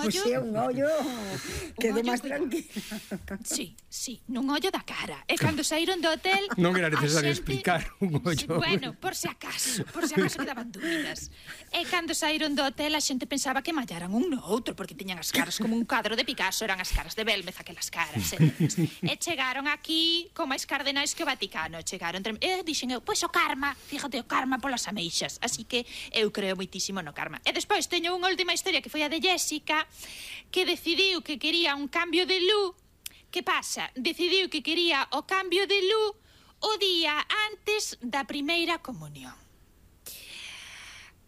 ollo... Pois é, un ollo quedou máis tranquilo. Sí, nun ollo da cara. E cando saíron do hotel... Non era necesario explicar un ollo. Bueno, por se acaso quedaban dúbidas. E cando saíron do hotel a xente pensaba que mallaran un no outro, porque tiñan as caras como un cadro de Picasso, eran as caras de Belmez, aquelas caras. E chegaron aquí con máis cardenais que o Vaticano. Dixen eu, pois o karma, fíjate, o karma polas ameixas. Así que eu creo moitísimo no karma. E despois teño unha última historia que foi a de Jessica, que decidiu que quería un cambio de luz. Que pasa? Decidiu que quería o cambio de luz o día antes da primeira comunión.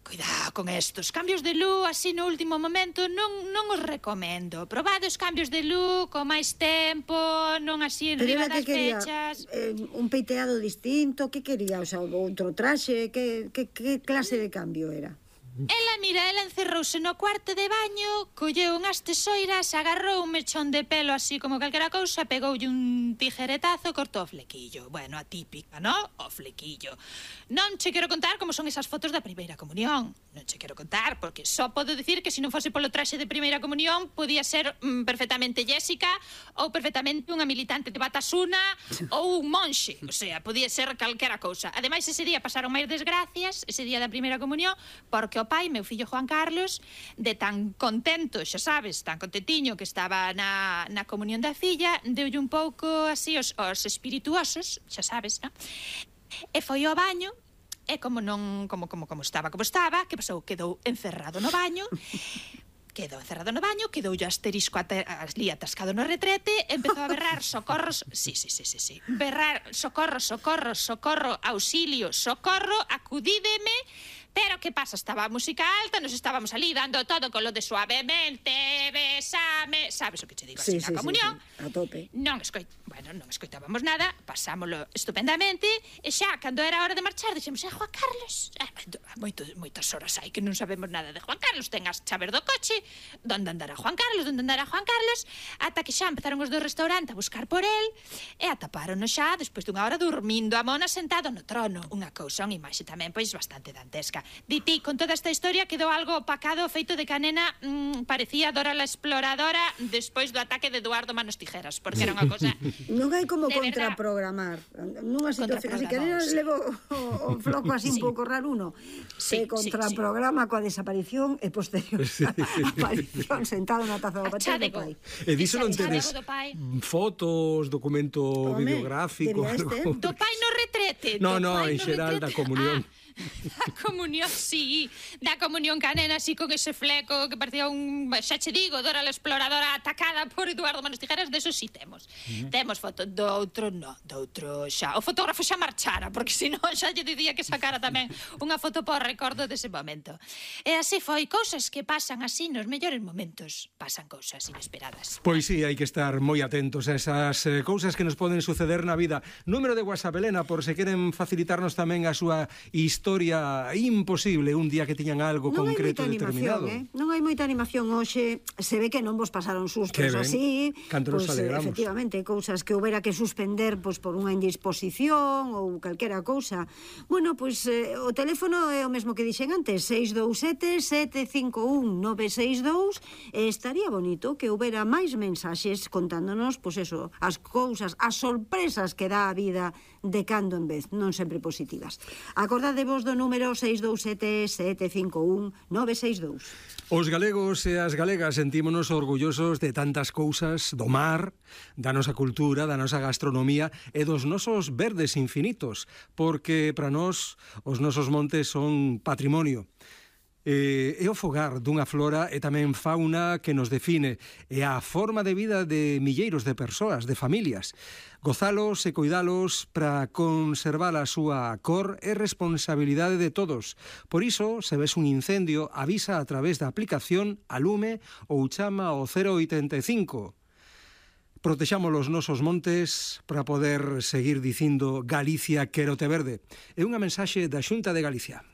Cuidado con estos cambios de luz así no último momento, non os recomendo. Probade os cambios de luz con máis tempo, non así en riba das fechas. Un peiteado distinto, que quería? O sea, outro traxe, que clase de cambio era? Ela encerrouse no cuarto de baño, colleu unhas tesoiras, agarrou un mechón de pelo así como calquera cousa, pegoulle un tijeretazo e cortou o flequillo. Bueno, atípica, ¿no? O flequillo. Non che quero contar como son esas fotos da primeira comunión. Non che quero contar, porque só podo dicir que se non fose polo traxe de primeira comunión podía ser perfectamente Jessica ou perfectamente unha militante de Batasuna ou un monxe. O sea, podía ser calquera cousa. Ademais, ese día pasaron máis desgracias, ese día da primeira comunión, porque o pai, meu fillo Juan Carlos, de tan contento, xa sabes, tan contentiño que estaba na comunión da filla, deulle un pouco así os espirituosos, xa sabes, non? E foi ao baño, e como estaba, que pasou? Quedou encerrado no baño, quedoulle asterisco ali atascado no retrete, empezou a berrar socorros, berrar socorro, auxilio, socorro, acudídeme. Pero que pasa? Estaba a música alta, nos estábamos ali dando todo con lo de suavemente, besame, sabes o que che digo así na comunión? A tope. Non escoitábamos nada, pasámolo estupendamente, e xa, cando era hora de marchar, dixemos, Juan Carlos, moitas horas hai que non sabemos nada de Juan Carlos, ten as chaves do coche, donde andará Juan Carlos, ata que xa empezaron os do restaurante a buscar por el, e atapárono xa, despois dunha hora dormindo a mona sentado no trono, unha cousa, unha imaxe tamén, pois, bastante dantesca. Diti, con toda esta historia quedou algo opacado o feito de que a nena parecía Dora la Exploradora despois do ataque de Eduardo Manos Tijeras, porque era unha cosa... Non hai como contraprogramar nunha situación así que a nena levo o floco así un pouco raro uno, se contraprograma coa desaparición e posterior aparición sentado na taza do papel do pai. E diso non tedes fotos, documento videográfico? Do pai no retrete. No, en xeral da comunión. Da comunión, sí, da comunión ca nena así con ese fleco que parecía xa che digo, Dora la Exploradora atacada por Eduardo Manos Tijeras, de eso sí temos. Temos foto, do outro xa, o fotógrafo xa marchara, porque senón xa lle dicía que sacara tamén unha foto por recordo dese momento. E así foi, cousas que pasan así nos mellores momentos, pasan cousas inesperadas. Pois sí, hai que estar moi atentos a esas cousas que nos poden suceder na vida. Número de WhatsApp, Elena, por se queren facilitarnos tamén a súa historia imposible un día que tiñan algo concreto determinado. Non hai moita animación hoxe, se ve que non vos pasaron sustos así, pois efectivamente, cousas que houbera que suspender pois por unha indisposición ou calquera cousa. Bueno, pois o teléfono é o mesmo que dixen antes, 627-751-962, e estaría bonito que houbera máis mensaxes contándonos, pois eso, as cousas, as sorpresas que dá a vida de cando en vez, non sempre positivas. Acordadevos do número 627-751-962. Os galegos e as galegas sentímonos orgullosos de tantas cousas, do mar, da nosa cultura, da nosa gastronomía e dos nosos verdes infinitos, porque para nós os nosos montes son patrimonio. É o fogar dunha flora e tamén fauna que nos define, e a forma de vida de milleiros de persoas, de familias. Gozalos e coidalos para conservar a súa cor é responsabilidade de todos. Por iso, se ves un incendio, avisa a través da aplicación Alume ou chama ao 085. Protexamos os nosos montes para poder seguir dicindo Galicia quérote verde. É unha mensaxe da Xunta de Galicia.